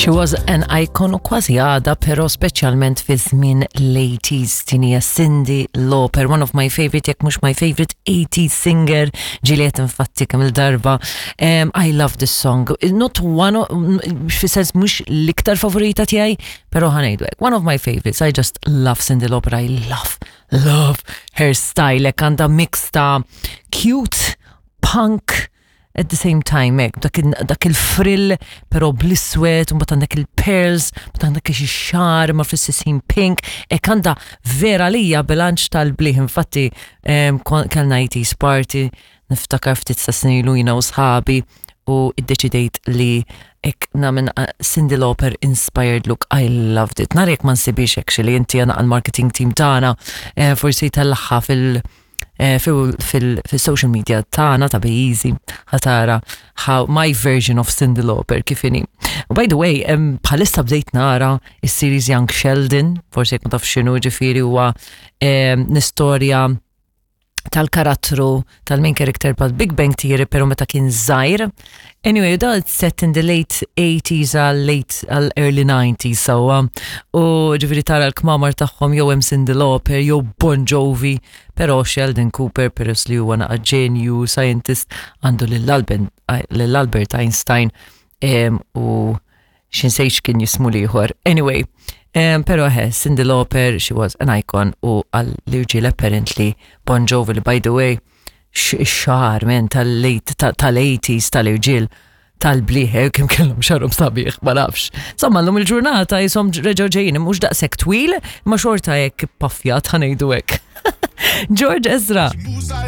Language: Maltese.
She was an icon u kważi għada, pero speċjalment fi żmien l-80s din hija Cyndi Lauper, one of my favorite, jekk mhux my favorite 80s singer, ġieliet infatti kemm il-darba. I love this song. Not one, fi sens mhux l-iktar favorita tiegħi, pero ħa ngħidu hekk. One of my favorites. I just love Cyndi Lauper. I love, love her style. Hekk għandha mix ta' cute, punk, at the same time hekk dak, dak il-frill però bl-iswed, u mbagħad għandek il-pearls, mbagħad għandek xi xagħar ma fl-istess ħin pink, hekk għandha vera lija bilanċ tal-bliħ. Infatti kellna 80s party, niftakar ftit sa snin ilu jiena u sħabi u iddeċidejt li hekk nagħmel Cyndi Lauper inspired look. I loved it. Nar jekk ma nsibix actually inti għana għal-marketing team tagħna forsi tellagħha fil-social media tagħna ta' Be Easy ħa tara how my version of Cyndi Lauper kif inhi. By the way, bħalissa bdejt nara is-series Young Sheldon, forsi jekk ma taf x'inhu ġifieri huwa l-istorja tal-karattru tal-main character pal Big Bang Theory pero meta kien żgħir. Anyway, da it's set in the late 80s għal late għal early 90s sewwa. U ġifieri tara l-kmamar tagħhom jew hemm Cyndi Lauper jew Bon Jovi, pero Sheldon Cooper peress li huwa naqa ġenju scientist għandu lil Albert Einstein u x'insejt kien jismu l-ieħor. Anyway, pero he, Cyndi Lauper, she was an icon u għall-irġiel apparently Bon Jovi li by the way, x-xagħar men tal-late tal-80s tal-irġiel tal-bliħ, kim kellhom xagħarhom sabiħ, ma nafx. Insomma, l-lum il-ġurnata jisom reġgħu ġejjin, mhux daqshekk twil, ma xorta hekk paffjat ħa ngħidu hekk. George Ezra.